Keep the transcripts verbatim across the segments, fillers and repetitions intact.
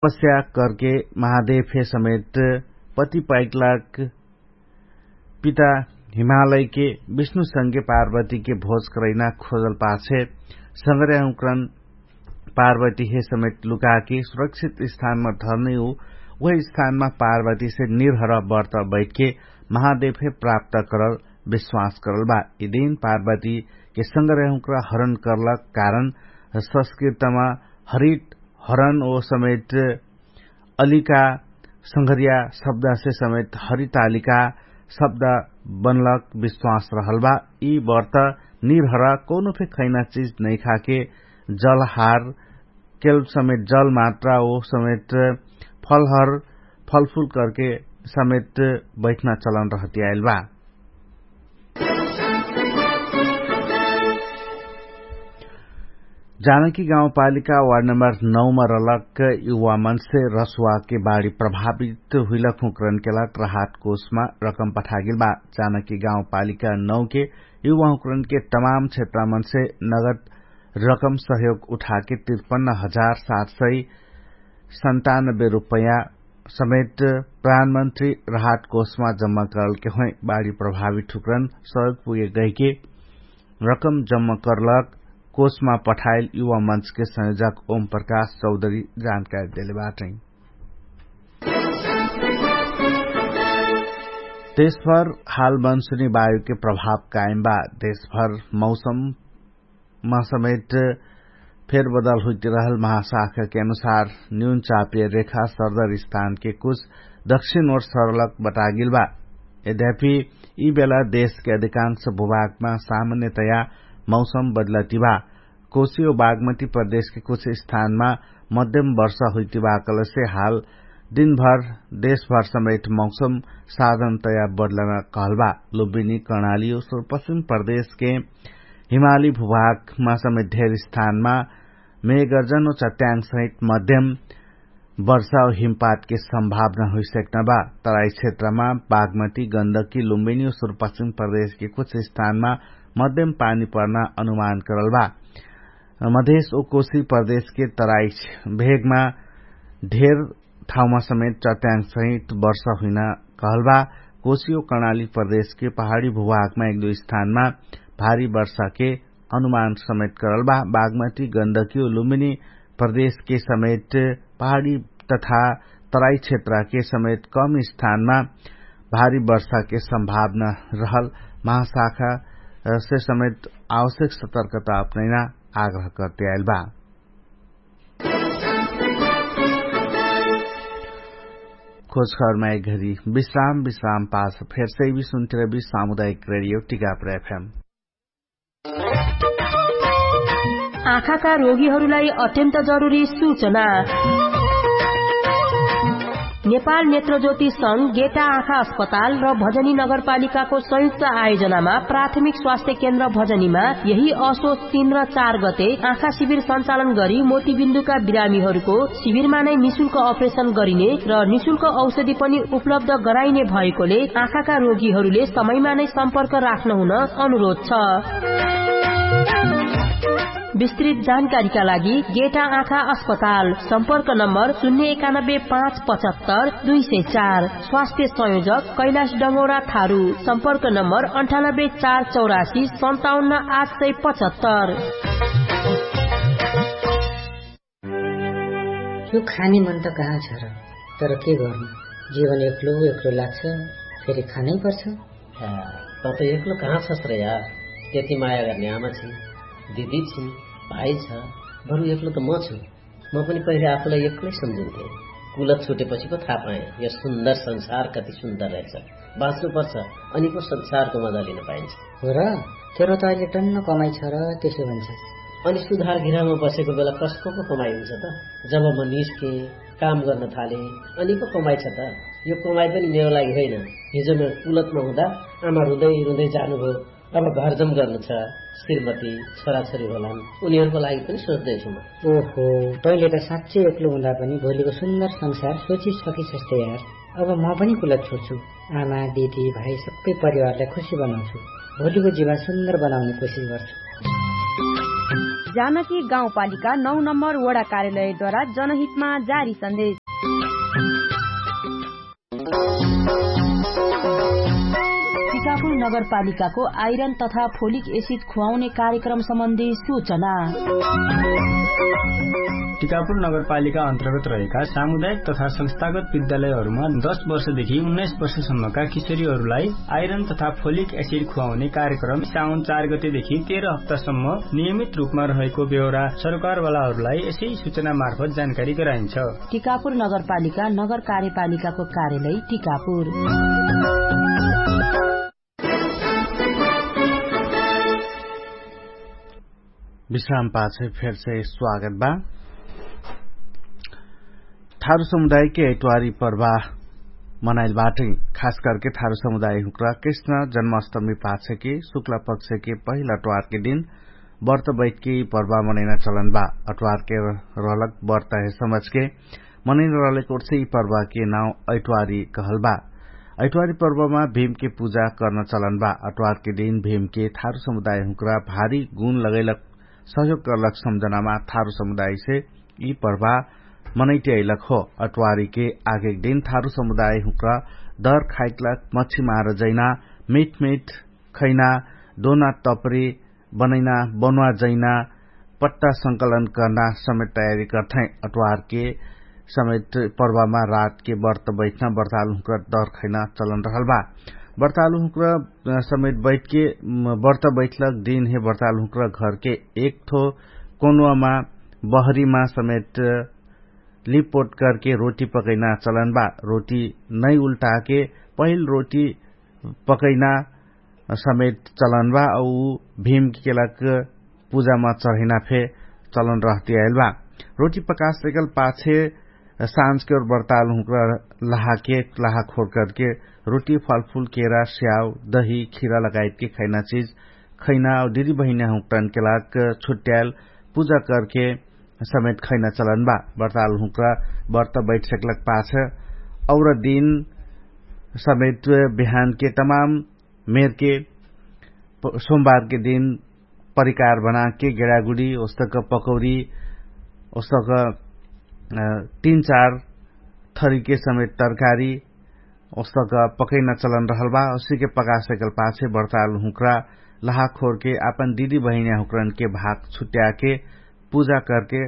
तपस्या करके महादेव हे समेत पति पाइकलाक पिता हिमालयके विष्णुसँगे पार्वतीके भोज करैना खोजल पाछे सङ्ग्रह उक्रन पार्वती हे समेत लुकाके सुरक्षित स्थानमा धर्ने हो। उहे स्थानमा पार्वतीसे निर्हर बर्त बैठके महादेव हे प्राप्त करल विश्वास करल बा। यि दिन पार्वतीके सङ्ग्रह उक्र हरण करलक कारण संस्कृतमा हरित हरण ओ समेत अलिका संघरिया शब्दसे समेत हरितालिका शब्द बनलक विश्वास रहल बा। यि बर्त निर्हर कौनो फे खैना चिज नैखाके जलहार केल समेत जल मात्रा ओ समेत फलहर फलफुल करके समेत बैठना चलन रहतियाइल बा। जानकी गाउँपालिका वार्ड नम्बर नौ मा रलक युवा मनसे रसुवाके बाढी प्रभावित हुइलक हुँकरनके लाग राहत कोषमा रकम पठागेल बा। जानकी गाउँपालिका नौ के युवा हुँकरनके तमाम क्षेत्रमनसे नगद रकम सहयोग उठाके तिरपन्न हजार सात सय सन्तानब्बे रुपैया समेत प्रधानमन्त्री राहत कोषमा जम्मा करलके होइ। बाढी प्रभावित हुँकरन सहयोग पुगे गहिके रकम जम्मा करलक कोषमा पठाइल युवा मञ्चके संयोजक ओम प्रकाश चौधरी जानकारी देले बाटै। देशभर हाल मनसुनी वायुके प्रभाव कायम बा। देशभर मौसम मा समेत फेरबदल हुइतिरहल महाशाखाके अनुसार न्यून चापिय रेखा सरदर स्थानके कुछ दक्षिण ओर सरलक बटागेल बा। यद्यपि यि बेला देशके अधिकांश भूभागमा सामान्यतया मौसम बदलति बा। कोशी ओ बागमती प्रदेशके कुछ स्थानमा मध्यम वर्षा हुइति बा कहलेसे हाल दिनभर देशभर समेत मौसम साधनतया बदलना कहल बा। लुबिनी कर्णाली ओ सुरपश्चिम प्रदेशके हिमाली भूभागमा समेत ढेर स्थानमा मेघर्जन ओ चट्याङ सहित मध्यम वर्षा ओ हिमपातके सम्भावना हुइसक्न बा। तराई क्षेत्रमा बागमती गन्दकी लुम्बिनी ओ सुरपश्चिम प्रदेशके कुछ स्थानमा मध्यम पानी पर्ना अनुमान करल बा। मधेश ओ कोशी प्रदेशके तराई भेगमा ढेर ठाउँमा समेत चट्याङ सहित वर्षा हुइना कहल बा। कोशी ओ कर्णाली प्रदेशके पहाडी भूभागमा एक दुई स्थानमा भारी वर्षाके अनुमान समेत करल बा। बागमती गन्दकी ओ लुम्बिनी प्रदेशके समेत पहाडी तथा तराई क्षेत्रके समेत कम स्थानमा भारी वर्षाके सम्भावना रहल महाशाखासे समेत आवश्यक सतर्कता अपनैना आग्रह करते आइल बा। खोजखबरमा एक घरी विश्राम विश्राम पास फेरसे भी सुन्तिरबी सामुदायिक रेडियो टिकापुर एफएम। आँखाका रोगीहरूलाई अत्यन्त जरुरी सूचना। नेपाल नेत्रज्योति संघ गेटा आँखा अस्पताल र भजनी नगरपालिकाको संयुक्त आयोजनामा प्राथमिक स्वास्थ्य केन्द्र भजनीमा यही असोच तीन र चार गते आँखा शिविर सञ्चालन गरी मोतीबिन्दुका बिरामीहरूको शिविरमा नै निशुल्क अपरेसन गरिने र निशुल्क औषधि पनि उपलब्ध गराइने भएकोले आँखाका रोगीहरूले समयमा नै सम्पर्क राख्न हुन अनुरोध छ। विस्तृत जानकारीका लागि गेटा आँखा अस्पताल, सम्पर्क नम्बर शून्य एकानब्बे पाँच पचहत्तर दुई सय चार। स्वास्थ्य संयोजक कैलाश डङ्गौरा थारु, सम्पर्क नम्बर अन्ठानब्बे चार चौरासी सन्ताउन्न आठ सय पचहत्तर। यो खाने मन त कहाँ छ र? तर के गर्नु, जीवन एक्लो एक्लो लाग्छ, फेरि खानै पर्छ। त त एक्लो कहाँ छस् र यार? त्यति माया गर्ने आमा छिन्, दिदी छिन्, भाइ छ, बरु एक्लो त म छु। म पनि पहिले आफूलाई एक्लै सम्झिन्थे। कुलत छुटेपछि पो थाहा पाएँ यो सुन्दर संसार कति सुन्दर रहेछ। बाँच्नुपर्छ, अनि पो संसारको मजा लिन पाइन्छ। हो र, तेरो त अहिले टन्न कमाइ छ र त्यसो भन्छ। अनि सुधार घिरामा बसेको बेला कसको पो कमाइ हुन्छ त? जब म निस्केँ, काम गर्न थालेँ, अनि पो कमाइ छ त? यो कमाइ पनि मेरो लागि होइन। हिजो म कुलतमा हुँदा आमा रुँदै रुँदै जानुभयो। अब घरजम गर्नु छ, श्रीमती छोराछोरी होलान्, उनीहरूको लागि पनि सोच्दैछु म। ओहो, तैँले त साँच्चै एक्लो हुँदा पनि भोलिको सुन्दर संसार सोचिसकिसस् त यार। अब म पनि कुलत छोड्छु। आमा दिदी भाइ सबै परिवारलाई खुसी बनाउँछु। भोलिको जीवन सुन्दर बनाउने कोसिस गर्छु। जानकी गाउँपालिका नौ नम्बर वडा कार्यालयद्वारा जनहितमा जारी सन्देश। टिकापुर नगरपालिकाको आइरन तथा फोलिक एसिड खुवाउने कार्यक्रम सम्बन्धी सूचना। टिकापुर नगरपालिका अन्तर्गत रहेका सामुदायिक तथा संस्थागत विद्यालयहरूमा दस वर्षदेखि उन्नाइस वर्षसम्मका किशोरीहरूलाई आइरन तथा फोलिक एसिड खुवाउने कार्यक्रम साउन चार गतेदेखि तेह्र हप्तासम्म नियमित रूपमा रहेको बेहोरा सरकारवालाहरूलाई यसै सूचना मार्फत जानकारी गराइन्छ। टिकापुर नगरपालिका नगर कार्यपालिकाको कार्यालय टिकापुर। विश्राम पाछे फेर से स्वागत बा। थारु समुदायके अइतवारी पर्वा मनाइल बाटै। खास करके थारु समुदाय हुक्रा कृष्ण जन्माष्टमी पाछेके शुक्ला पक्षेके पहिला अटवारके दिन बर्त बैठके यि पर्वा मनैना चलन बा। अटवारके रहलक बर्त हे समझके मनैना रहलक ओर्से यि पर्वाके नाउ अइतवारी कहल बा। अइतवारी पर्वामा भीमके पुजा कर्न चलन बा। अटवारके दिन भीमके थारु समुदाय हुक्रा भारी गुण लगैलक सहयोग कर्लक सम्झनामा थारु समुदायसे यि पर्वा मनैते अइलक हो। अटवारीके आगेक दिन थारु समुदाय हुक्रा दर खाइकलक मच्छी मार जैना मिठमिठ खैना दोना तपरी बनैना बनुवा जैना पट्टा संकलन कर्ना समेत तयारी गर्थै। अटवारके समेत पर्वामा रातके बर्त बैठना बर्तालु हुक्रा दर खैना चलन रहल बा। बर्तालु हुक्रा समेत बैठके बर्त बैठलक दिन हे बर्तालु हुक्रा घरके एक थो कोनुवामा बहरीमा समेत लिपोट करके रोटी पकैना चलन बा। रोटी नै उल्टाके पहिल रोटी पकैना समेत चलन बा। उ भीम केलक पुजामा चढैना फे चलन रहती आइल बा। रोटी पकास एकल पाछे साँझके और बर्ताल हुँक्रा लहाके लहा खोर करके रोटी फलफुल केरा स्याउ दही खिरा लगायतके खैना चिज खैना और दिदी बहिन्या हुँक्रान केलाक छुट्याल पुजा करके समेत खैना चलन बा। बर्ताल हुँक्रा बर्त बैठ सकलक पाछ और दिन समेत बिहानके तमाम मेरके सोमबारके दिन परिकार बनाके गेडागुडी ओस्तक पकौरी ओस्तक तीन चार थरीके समेत तरकारी ओस्तक पकैना चलन रहल बा। ओसीके पकासेकल पाछे बर्ताल हुँक्रा लहाखोरके आपन दिदी बहिन्या हुँक्रनके भाग छुट्याके पुजा करके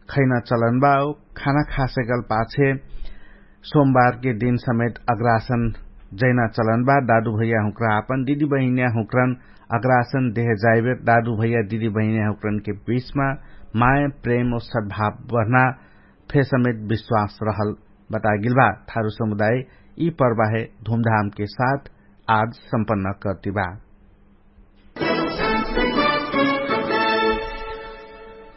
खैना चलन बा। खाना खासेकल पाछे सोमबारके दिन समेत अग्रासन जैना चलन बा। दादु भैया हुँक्रा आपन दिदी बहिन्या हुँक्रन अग्रासन देह जाइबेर दादु भैया दिदी बहिन्या हुँक्रनके बिचमा माय प्रेम और सद्भाव बढ्ना फे समेत विश्वास रहल बतागिल बा। थारु समुदाय यि पर्वाहे धुमधामके साथ आज सम्पन्न कर्ति बा।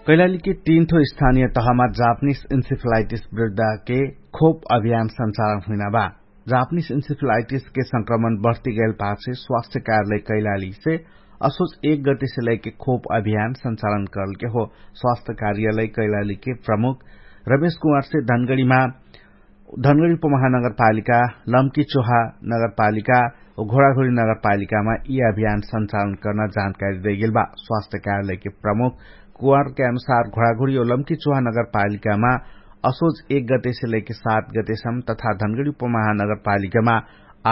कैलालीके तीन थो स्थानिय तहमा जापनिस इन्सिफलाइटिस विरुद्धाके खोप अभियान सञ्चालन हुइना बा। जापनिस इन्सिफलाइटिसके संक्रमण बढ्ति गैल पाछे स्वास्थ्य कार्यालय कैलालीसे असोच एक गतिसे लैके खोप अभियान सञ्चालन करलके हो। स्वास्थ्य कार्यालय कैलालीके प्रमुख रमेश कुमारसे धनगडीमा धनगडी उपमहानगरपालिका लम्की चोहा नगरपालिका घोडाघोडी नगरपालिकामा यि अभियान सञ्चालन कर्ना जानकारी दैगेल बा। स्वास्थ्य कार्यालयके प्रमुख कुवारके अनुसार घोडाघोडी और लम्की चोहा नगरपालिकामा असोच एक गतेसे लैके सात गतेसम तथा धनगडी उपमहानगरपालिकामा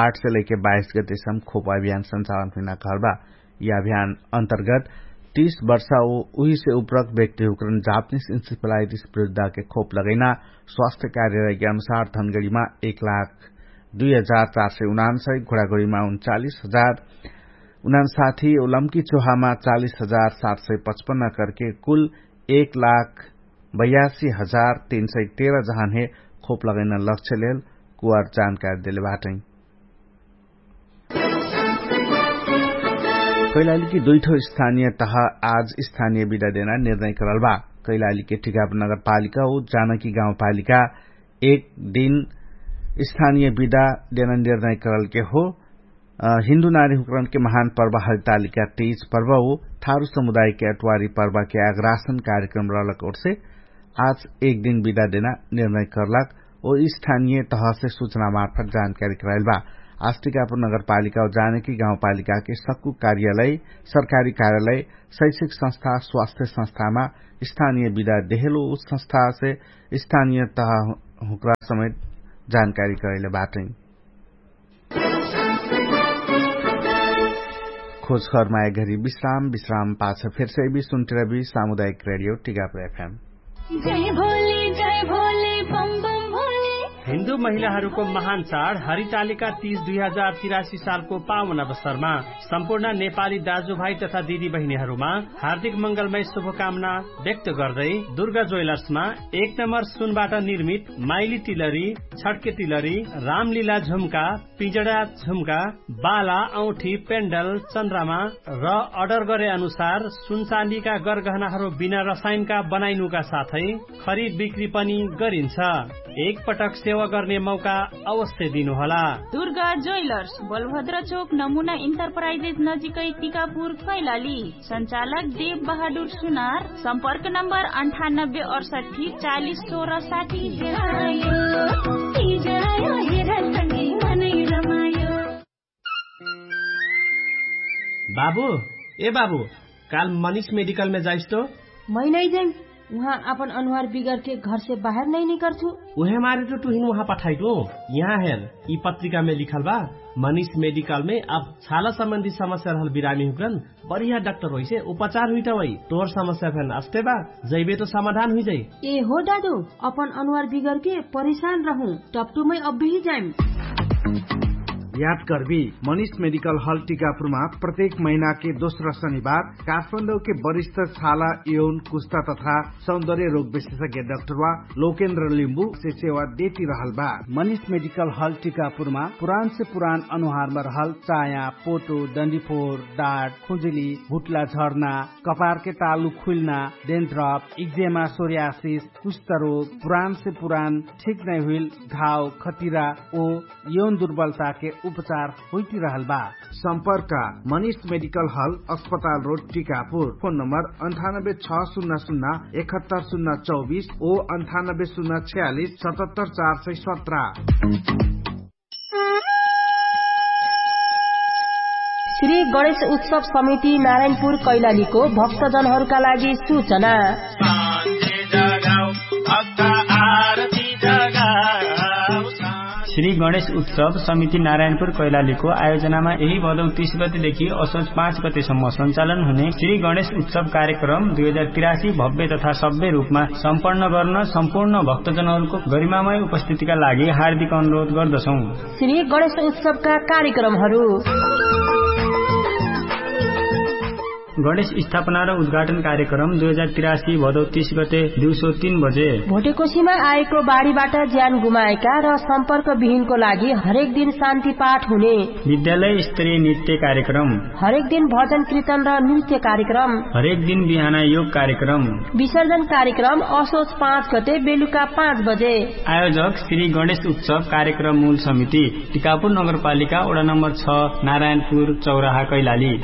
आठ से लैके बाइस गतेसम खोप अभियान सञ्चालन हुइना कहल बा। यि अभियान अन्तर्गत तीस वर्षा उहिसे उपरक व्यक्तिहुँक्रन जापनिस इन्सिफलाइटिस विरुद्धाके खोप लगैना स्वास्थ्य कार्यालयके अनुसार धनगडीमा एक लाख दुई हजार चार सय उनान्सय घोडाघोडीमा उन्चालिस हजार उनान्साथी और लम्की चोहामा चालिस हजार सात सय पचपन्न करके कुल एक लाख बयासी हजार तीन सय तेह्र जहानहे खोप लगैना लक्ष्य लेल कुवार जानकारी देले बाटै। कैलालीकी दुइठो स्थानिय तह आज स्थानिय विदा देना निर्णय करल बा। कैलालीके ठिकाप नगरपालिका उ जानकी गाउँपालिका एक दिन स्थानिय विदा देना निर्णय करलके हो। हिन्दु नारी हुँक्रनके महान पर्व हरितालिका तीज पर्व उ थारु समुदायके अटवारी पर्वके आग्रासन कार्यक्रम रहलक ओर्से आज एक दिन विदा देना निर्णय करलक ओ स्थानिय तहसे सुचना मार्फत जानकारी कराइल बा। आस्टिकापुर नगरपालिका जानकी गाउँपालिकाके सक्कु कार्यालय, सरकारी कार्यालय, शैक्षिक संस्था, स्वास्थ्य संस्थामा स्थानीय विदा देहेलो उस संस्थासे स्थानीय तह हुँक्रा समेत जानकारी करैले बाटै। खोजखर माया घरी विश्राम विश्राम पाछ फेरसे भी सुन्टिरबी सामुदायिक रेडियो टिकापुर एफएम। जय भोले जय भोले बम बम भोले। हिन्दू महिलाहरूको महान चाड हरितालिका तीज दुई हजार तिरासी सालको पावन अवसरमा सम्पूर्ण नेपाली दाजुभाइ तथा दिदी बहिनीहरूमा हार्दिक मंगलमय शुभकामना व्यक्त गर्दै दुर्गा ज्वेलर्समा एक नम्बर सुनबाट निर्मित माइली तिलरी, छड्के तिलरी, रामलीला झुम्का, पिजडा झुम्का, बाला औठी पेन्डल चन्द्रमा र अर्डर गरे अनुसार सुनचाँदीका गरगहनाहरू बिना रसायनका बनाइनुका साथै खरिद बिक्री पनि गरिन्छ। एकपटक सेवा गर्ने मौका अवश्य दिनुहोला। दुर्गा ज्वेलर्स, बलभद्र चोक, नमुना इन्टरप्राइजेस नजिकै टिकापुर कैलाली। सञ्चालक देव बहादुर सुनार। सम्पर्क नम्बर अन्ठानब्बे अडसठी चालिस सोह्र साठी। बाबु, ए बाबु, काल मनिष मेडिकलमे जाइस तो? मै नै जैम। उहाँ आपन अनुहार बिगरके घरसे बाहेर नै निकर्छु। उहे मारे तो टुहिन उहाँ पठाइटु। यहाँ हेर, यि पत्रिकामे लिखल बा, मनिष मेडिकलमे अब छाला सम्बन्धी समस्या रहल बिरामी हुक्रन बढिया डाक्टर होइसे उपचार हुइटा वइ। तोर समस्या फेन अस्ते बा, जैबे तो समाधान हुइजाइ। ए हो दादु, अपन अनुहार बिगरके परिशान रहु, टप्टुमै अब्बेही जाइम। याद करबी, मनिष मेडिकल हल टिकापुरमा प्रत्येक महिनाके दोस्रा शनिबार काठमाडौके वरिष्ठ छाला यौन कुस्ता तथा सौन्दर्य रोग विशेषज्ञ डाक्टरवा लोकेन्द्र लिम्बुसे सेवा देति रहल बा। मनिष मेडिकल हल टिकापुरमा पुरानसे पुरान अनुहारमा रहल चाया, पोटो, डन्डीफोर, डाट, खुजुली, भुट्ला झर्ना, कपारके तालु खुइल्ना, डेन्ड्रप, इक्जेमा, सोर्यासिस, कुष्ठरोग, पुरानसे पुरान ठिक नै हुइल घाव, खटिरा ओ यौन दुर्बलताके उपचार हुइटिरहल बा। सम्पर्क, मनिष मेडिकल हल, अस्पताल रोड, टिकापुर। फोन नम्बर अन्ठानब्बे छ सुन्ना सुन्ना एकहत्तर सुन्ना चौबिस ओ अन्ठानब्बे सुन्ना छयालिस सतहत्तर चार सय सत्र। श्री गणेश उत्सव समिति नारायणपुर कैलालीको भक्तजनहरूका लागि सूचना। श्री गणेश उत्सव समिति नारायणपुर कैलालीको आयोजनामा यही भदौ तीस गतेदेखि असोज पाँच गतेसम्म सञ्चालन हुने श्री गणेश उत्सव कार्यक्रम दुई हजार तिरासी भव्य तथा सभ्य रूपमा सम्पन्न गर्न सम्पूर्ण भक्तजनहरूको गरिमामय उपस्थितिका लागि हार्दिक अनुरोध गर्दछौँ। श्री गणेश उत्सवका कार्यक्रमहरू। गणेश स्थापना र उद्घाटन कार्यक्रम दुई हजार तिरासी भदौ तीस गते दिउँसो तीन बजे। भोटेकोसीमा आएको बाढीबाट ज्यान गुमाएका र सम्पर्क विहीनको लागि हरेक दिन शान्ति पाठ हुने। विद्यालय स्तरीय नृत्य कार्यक्रम। हरेक दिन भजन कीर्तन र नृत्य कार्यक्रम। हरेक दिन बिहान योग कार्यक्रम। विसर्जन कार्यक्रम असोज पाँच गते बेलुका पाँच बजे। आयोजक श्री गणेश उत्सव कार्यक्रम मूल समिति, टिकापुर नगरपालिका, वडा नम्बर छ, नारायणपुर चौराहा, कैलाली।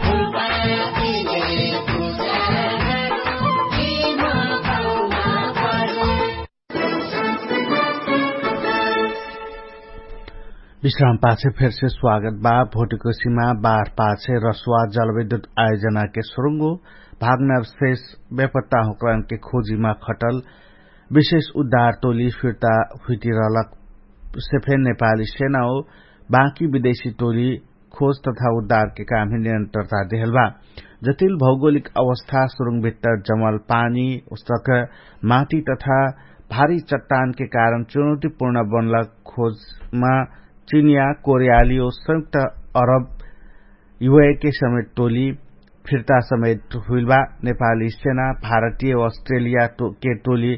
विश्राम पाछे फेरसे स्वागत बा। भोटिकोसीमा बार पाछे रसुवा जलविद्युत आयोजनाके सुरुङ्गो भागनर शेष बेपत्ता हुँक्रानके खोजीमा खटल विशेष उद्धार टोली फिर्ता हुइटिरहलक सेफे नेपाली सेना हो बाँकी विदेशी टोली खोज तथा उद्धारके कामहे निरन्तरता देहल बा। जटिल भौगोलिक अवस्था सुरुङ भित्तर जमल पानी, उसक माटी तथा भारी चट्टानके कारण चुनौतीपूर्ण बनलक खोजमा चिनिया, कोरियाली ओ संयुक्त अरब युएके समेत टोली फिर्ता समेत हुइल बा। नेपाली सेना, भारतीय ओ अस्ट्रेलिया के टोली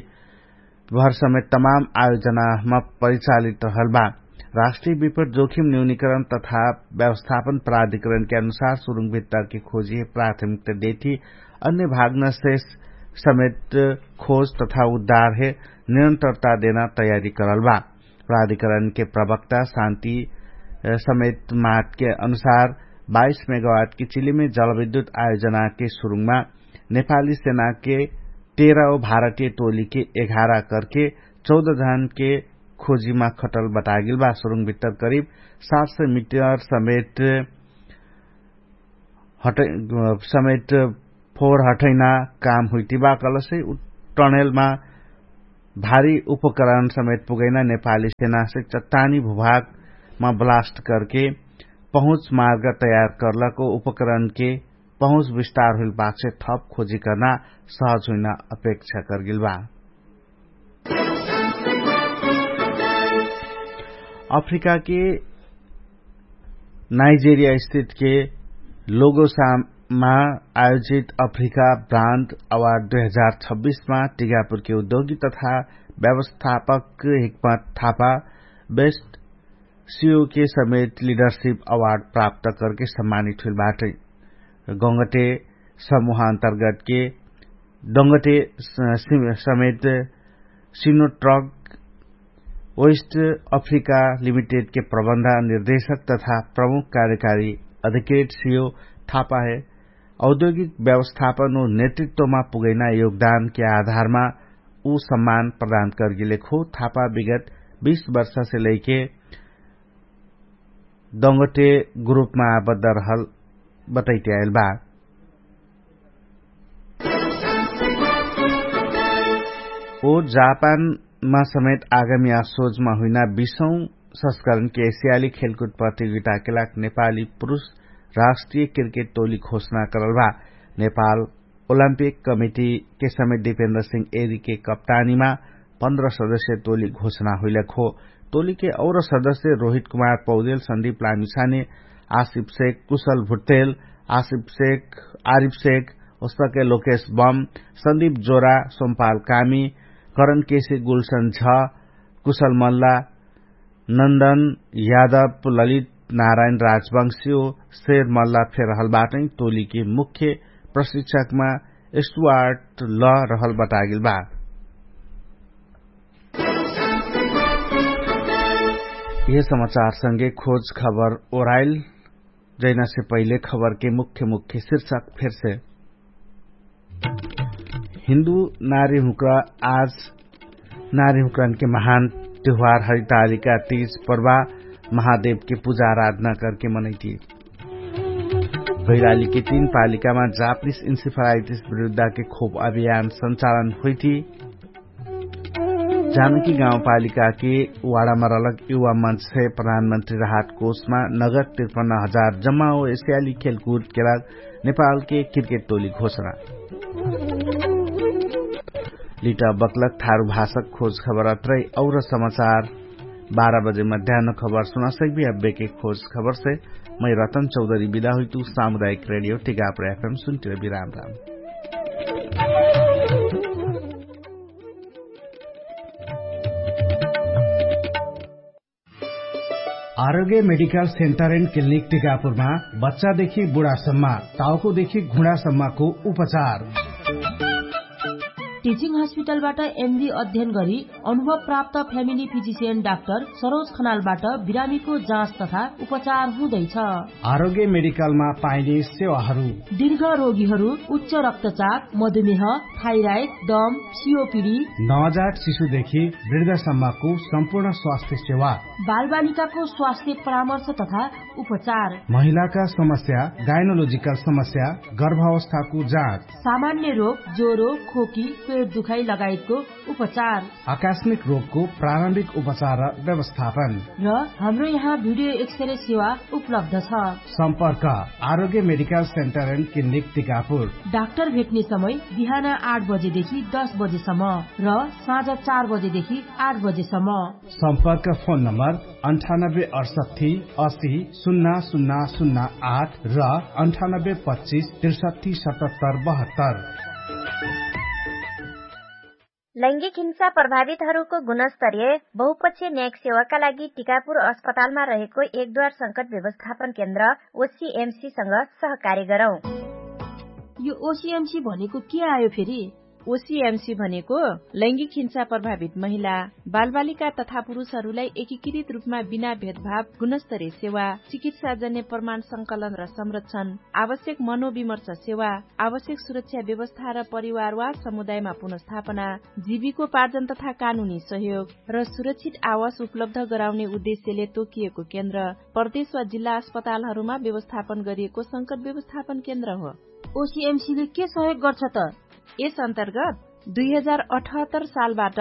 भर समेत तमाम आयोजनामा परिचालित रहल बा। राष्ट्रिय विपद जोखिम न्यूनीकरण तथा व्यवस्थापन प्राधिकरणके अनुसार सुरुङ भित्तरके खोजी प्राथमिकता देथी अन्य भागनशेष समेत खोज तथा उद्धारहे निरन्तरता देना तयारी करल बा। प्राधिकरणके प्रवक्ता शान्ति समेत मातके अनुसार बाइस मेगावाटके चिलिमे जलविद्युत आयोजनाके सुरुङमा नेपाली सेनाके तेह्र ओ भारतीय टोलीके एघार करके चौध धानके खोजीमा खटल बतागेल बा। सुरुङ भित्तर करिब सात सय मिटर समेट हटै समेट फोहर हटैना काम हुइतिबा कहलसै उ टनेलमा भारी उपकरण समेत पुगैना नेपाली सेनासे चट्टानी भूभागमा ब्लास्ट करके पहुँच मार्ग तयार करलको उपकरणके पहुँच विस्तार हुइल बाकसे थप खोजी कर्ना सहज हुइना अपेक्षा करगेल बा। अफ्रिकाके नाइजेरिया स्थितके लोगोसामा आयोजित अफ्रिका ब्रान्ड अवार्ड दुई हजार छब्बिसमा टिकापुरके उद्योगी तथा व्यवस्थापक हिक्मत थापा बेस्ट सियोके समेत लिडरसिप अवार्ड प्राप्त करके सम्मानित हुइल बाटै। गङ्गटे समूह अन्तर्गतके डङ्गटे समेत सिनोट्रक वेस्ट अफ्रिका लिमिटेडके प्रबन्ध निर्देशक तथा प्रमुख कार्यकारी अधिकृत सियो थापाहे औद्योगिक व्यवस्थापन उ नेतृत्वमा पुगैना योगदानके आधारमा उ सम्मान प्रदान करगेलेखो। थापा विगत बीस वर्षसे लैके दङ्गटे ग्रुपमा आबद्ध रहल बटैट्याएल बा। ओ जापानमा समेत आगामी आसोजमा हुइना बीसौँ संस्करणके एसियाली खेलकुट प्रतियोगिताके लाग नेपाली पुरुष राष्ट्रिय क्रिकेट टोली घोषणा करल बा। नेपाल ओलम्पिक कमिटीके समेत दिपेन्द्र सिंह एरीके कप्तानीमा पन्ध्र सदस्य टोली घोषणा हुइलक हो। टोलीके और सदस्य रोहित कुमार पौदेल सन्दीप लामिसाने आसिफ शेख कुशल भुट्टेल आसिफ शेख आरिफ शेख ओस्तके लोकेश बम सन्दीप जोरा सोमपाल कामी करण केसी गुलसन झ कुशल मल्ला नन्दन यादव ललित नारायण राजवंशी ओ शेर मल्ला फेरहल बाटै। टोलीके मुख्य प्रशिक्षकमा स्टुवार्ट ल रहल बतागेल बा। यह समाचारसँगे खोज खबर ओराइल। जैनासे पहिले खबरके मुख्य मुख्य शीर्षक फेरसे हिन्दू नारी हुक्रा आज नारी हुक्रानके महान त्यौहार हरितालिका तीज पर्वा महादेवके पुजा आराधना करके मनैती। भैरालीके तीन पालिकामा जापनिस इन्सिफालाइटिस विरुद्धके खोप अभियान सञ्चालन होइती। जानकी गाउँपालिकाके वाडामा रहलक युवा मञ्चसे प्रधानमन्त्री राहत कोषमा नगद त्रिपन्न हजार जम्मा हो एसियाली खेलकुदके लाग नेपालके क्रिकेट टोली घोषणा। लिटा बक्लक थारु भाषक खोज खबर अत्रै और समाचार बाह्र बजे मध्यान खबर सुनासक्बी। अब्बेके खोज खबरसे मै रतन चौधरी बिदा हुइतु। सामुदायिक रेडियो टिकापुर एफएम सुन्टिर बिराम राम। आरोग्य मेडिकल सेन्टर एन्ड क्लिनिक टिकापुरमा बच्चादेखि बुढासम्म, टाउकोदेखि घुँडासम्मको उपचार। टिचिङ हस्पिटलबाट एमडी अध्ययन गरी अनुभव प्राप्त फ्यामिली फिजिसियन डाक्टर सरोज खनालबाट बिरामीको जाँच तथा उपचार हुँदैछ। आरोग्य मेडिकलमा पाइने सेवाहरू। दीर्घ रोगीहरू उच्च रक्तचाप, मधुमेह, थाइराइड, दम, सियोपिडी, नवजात शिशुदेखि वृद्धसम्मको सम्पूर्ण स्वास्थ्य सेवा। बालबालिकाको स्वास्थ्य परामर्श तथा उपचार। महिलाका समस्या, गाइनोलोजिकल समस्या, गर्भावस्थाको जाँच। सामान्य रोग, ज्वरो, खोकी, पेट दुखाइ लगायतको उपचार। आकस्मिक रोगको प्रारम्भिक उपचार र व्यवस्थापन। र हाम्रो यहाँ भिडियो एक्सरे सेवा उपलब्ध छ। सम्पर्क Arogya medical centre and clinic Tikapur. Doctor भेट्ने समय बिहान आठ बजेदेखि दस बजेसम्म र साँझ चार बजेदेखि आठ बजेसम्म। सम्पर्क फोन नम्बर अन्ठानब्बे अठसट्ठी असी सुन्ना सुन्ना सुन्ना आठ र अन्ठानब्बे पच्चिस त्रिसट्ठी सतहत्तर बहत्तर। लैङ्गिक हिंसा प्रभावितहरूको गुणस्तरीय बहुपक्षीय न्यायिक सेवाका लागि टिकापुर अस्पतालमा रहेको एकद्वार संकट व्यवस्थापन केन्द्र ओसिएमसीसँग सहकार्य गरौँ। यो ओसिएमसी भनेको के आयो फेरि? ओसिएमसी भनेको लैङ्गिक हिंसा प्रभावित महिला, बालबालिका तथा पुरुषहरूलाई एकीकृत रूपमा बिना भेदभाव गुणस्तरीय सेवा, चिकित्साजन्य प्रमाण संकलन र संरक्षण, आवश्यक मनोविमर्श सेवा, आवश्यक सुरक्षा व्यवस्था र परिवार वा समुदायमा पुनर्स्थापना, जीविकोपार्जन तथा कानुनी सहयोग र सुरक्षित आवास उपलब्ध गराउने उद्देश्यले तोकिएको केन्द्र प्रदेश वा जिल्ला अस्पतालहरूमा व्यवस्थापन गरिएको संकट व्यवस्थापन केन्द्र हो। ओसिएमसीले के सहयोग गर्छ त? यस अन्तर्गत दुई हजार अठहत्तर सालबाट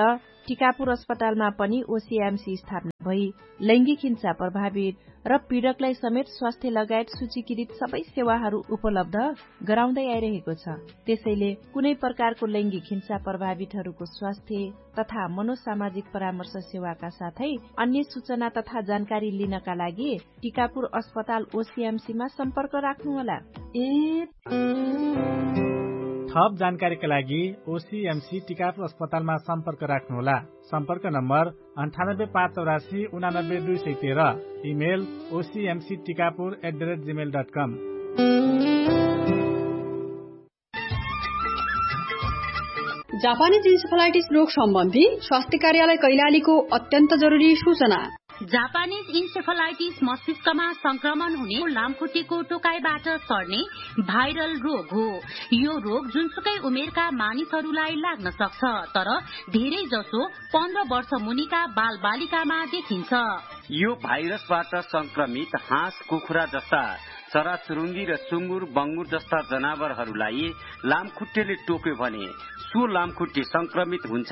टिकापुर अस्पतालमा पनि ओसिएमसी स्थापना भई लैङ्गिक हिंसा प्रभावित र पीडकलाई समेत स्वास्थ्य लगायत सूचीकृत सबै सेवाहरू उपलब्ध गराउँदै आइरहेको छ। त्यसैले कुनै प्रकारको लैङ्गिक हिंसा प्रभावितहरूको स्वास्थ्य तथा मनोसामाजिक परामर्श सेवाका साथै अन्य सूचना तथा जानकारी लिनका लागि टिकापुर अस्पताल ओसिएमसीमा सम्पर्क राख्नुहोला। ए थप जानकारीका लागि ओसिएमसी टिकापुर अस्पतालमा सम्पर्क राख्नुहोला। सम्पर्क नम्बर अन्ठानब्बे पाँच चौरासी उनानब्बे दुई सय तेह्र। Email OCMC Tikapur at the rate gmail dot com. जापानी जिन्सेफलाइटिस रोग सम्बन्धी स्वास्थ्य कार्यालय कैलालीको अत्यन्त जरुरी सूचना। जापानिज इन्सेफलाइटिस मस्तिष्कमा संक्रमण हुने लामखुट्टेको टोकाइबाट सर्ने भाइरल रोग हो। यो रोग जुनसुकै उमेरका मानिसहरूलाई लाग्न सक्छ, तर धेरै जसो पन्ध्र वर्ष मुनिका बालबालिकामा देखिन्छ। यो भाइरसबाट संक्रमित हाँस, कुखुरा जस्ता चराचुरुङ्गी र सुँगुर बङ्गुर जस्ता जनावरहरूलाई लामखुट्टेले टोक्यो भने सो लामखुट्टे संक्रमित हुन्छ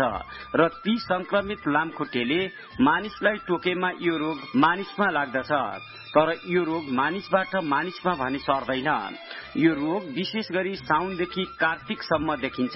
र ती संक्रमित लामखुट्टेले मानिसलाई टोकेमा यो रोग मानिसमा लाग्दछ। तर यो रोग मानिसबाट मानिसमा भने सर्दैन। यो रोग विशेष गरी साउनदेखि कार्तिकसम्म देखिन्छ।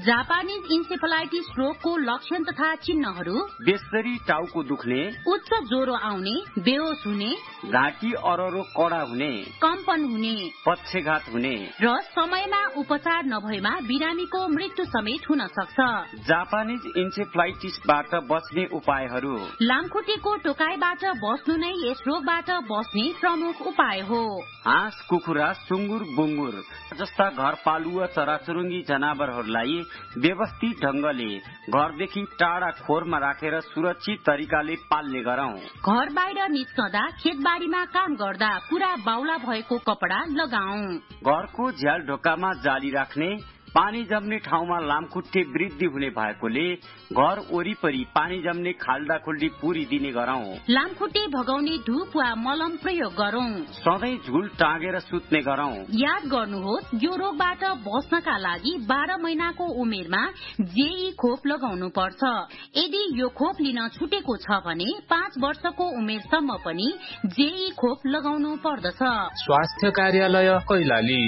जापानिज इन्सेफलाइटिस रोगको लक्षण तथा चिन्हहरू बेसरी टाउको दुख्ने, उच्च ज्वरो आउने, बेहोस हुने, घाँटी अररो कडा हुने, कम्पन हुने, पक्षघात हुने र समयमा उपचार नभएमा बिरामीको मृत्यु समेत हुन सक्छ। जापानिज इन्सेफलाइटिसबाट बच्ने उपायहरू। लामखुट्टेको टोकाइबाट बस्नु नै यस रोगबाट बस्ने प्रमुख उपाय हो। हाँस, कुखुरा, सुँगुर, बुँगुर जस्ता घरपालुवा चराचुरुङ्गी जनावरहरूलाई व्यवस्थित ढङ्गले घरदेखि टाढा खोरमा राखेर सुरक्षित तरिकाले पाल्ने गरौँ। घर बाहिर निस्कँदा, खेतबारीमा काम गर्दा पुरा बाउला भएको कपडा लगाऊ। घरको झ्याल ढोकामा जाली राख्ने, पानी जम्ने ठाउँमा लामखुट्टे वृद्धि हुने भएकोले घर वरिपरि पानी जम्ने खाल्डाखुल्डी पुरी दिने गरौँ। लामखुट्टे भगाउने धुप वा मलम प्रयोग गरौँ। सधैँ झुल टाँगेर सुत्ने गरौँ। याद गर्नुहोस्, यो रोगबाट बस्नका लागि बाह्र महिनाको उमेरमा जेई खोप लगाउनु पर्छ। यदि यो खोप लिन छुटेको छ भने पाँच वर्षको उमेरसम्म पनि जेई खोप लगाउनु पर्दछ। स्वास्थ्य कार्यालय कैलाली।